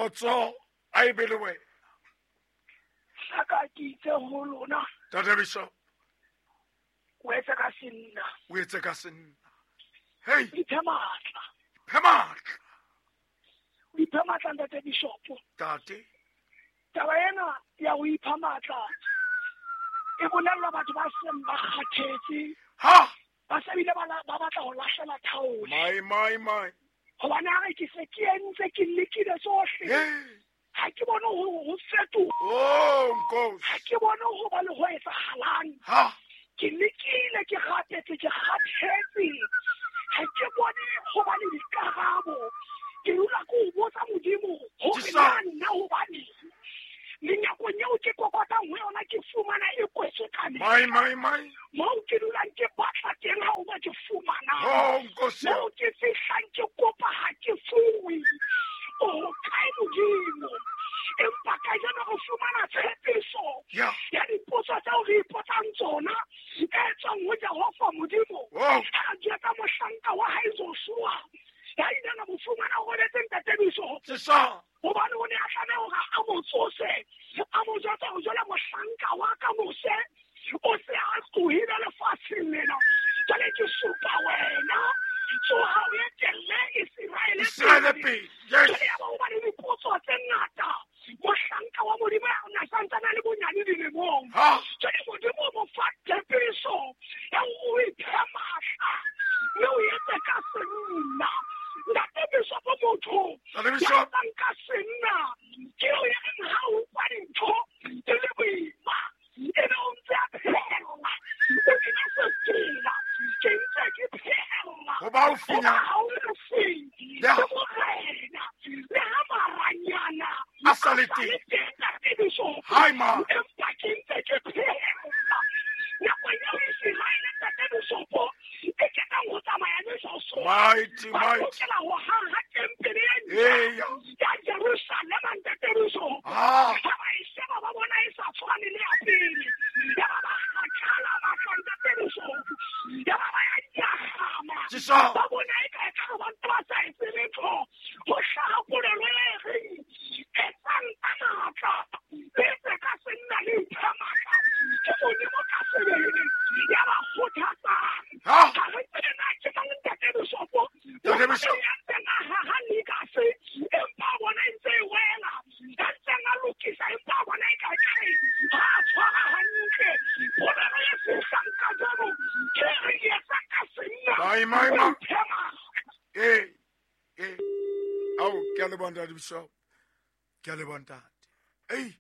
Kgotso a e be le wena. Hlaka ke itse ho lona. Tate Bishop. O etse ka senna. O etse ka senna. Hey. Iphe matla. Iphe matla. O iphe matla ntate Bishop. Tate. Taba ena ya ho ipha matla e bolellwa batho ba seng ba kgathetse. Ha. Ba se bile ba batla ho lahlela thaole. My my my. Hobane a re ke se ke entse ke lekile tsohle. Ha ke bone ho fetoha. Oh, nkosi. Ha ke bone ho ba le ho etsahalang. Ha. Ke lekile, ke rapetse, ke kgathetse. Ha ke bone ho ba le dikarabo. Ke dula ke o botsa Modimo hore na nna hobaneng. Menyakong eo ke kokotang ho yona ke fumana e kwetswe ka mehla. My, my, my. Moo ke dulang ke batla teng ha o ba ke fumana. Oh, nkosi. Moo ke fihlang ke kopa ha ke fuwe. O hokae Modimo? Empa kajeno re fumana tshepiso ya dipotso tseo re ipotsang tsona e tswang ho Jehova Modimo. Oh. Ha re jwetsa mohlanka wa hae Joshua, ya ileng a mo fumana o robetse ntate Bishop. Sesa. Hobane o ne a tlameha hore a mo tsose, a mo jwetsa hore jwale mohlanka wa ka Moshe o se a tlohile lefatsheng lena. Jwale ke supa wena, tsoha o etelle Iseraele Iseraele pele. Yes. Jwale ya ba ho ba le dipotso tse ngata. Mohlanka wa Modimo ya na santsane a le bonyane dilemong. Ha. Jwale Modimo o mo fa tshepiso ya hore o iphe matla, mme o etse ka senna. Ntate Bishop motho Ntate Bishop. ya etsang ka senna ke eo ya reng ha o utlwa dintho di le boima, ebe o ntse a phehella. O kena sefela, ke ntse ke phehella. Ho ba haufinyana. Ho ba haufi. Ya. Le morena, le ha maranyana A sa le a sa teng. le teng, Ntate Bishop. Hai, ma. Empa ke ntse ke phehella. Nako eo Iseraele, Ntate Bishop, e ketang ho tsamaya le Joshua. Mighty, Ba mighty. lokela ho haha tempele e ntjha Eya. ya Jerusalema, Ntate Bishop. Ah. Ha ba e sheba, ba bona e sa tshwane le ya pele. Ya ba ba kgathala matla, Ntate Bishop. Ya ba ba ya nyahama. Jesu. Ba bona e ka e ka ba ntse ba sa etse letho. Ho hlaha polelo e reng, etsang ka matla, le etse ka senna le iphe matla. Ke Modimo ka sebele ya ba kgothatsang. Ha. Ha re tsebe na ke mang, Ntate Bishop. Ntate Bishop. Ya ntseng a haha legacy, empa bona e ntse e wela. Ya ntseng a lokisa, empa bona e ka e ha a tshwara hantle. Polelo e fihlang kajeno ke e reng etsa ka senna. My, my, my. O iphe matla. Eh, eh. Ao, ke a leboha, Ntate Bishop. Ke a leboha, Ntate. Ei.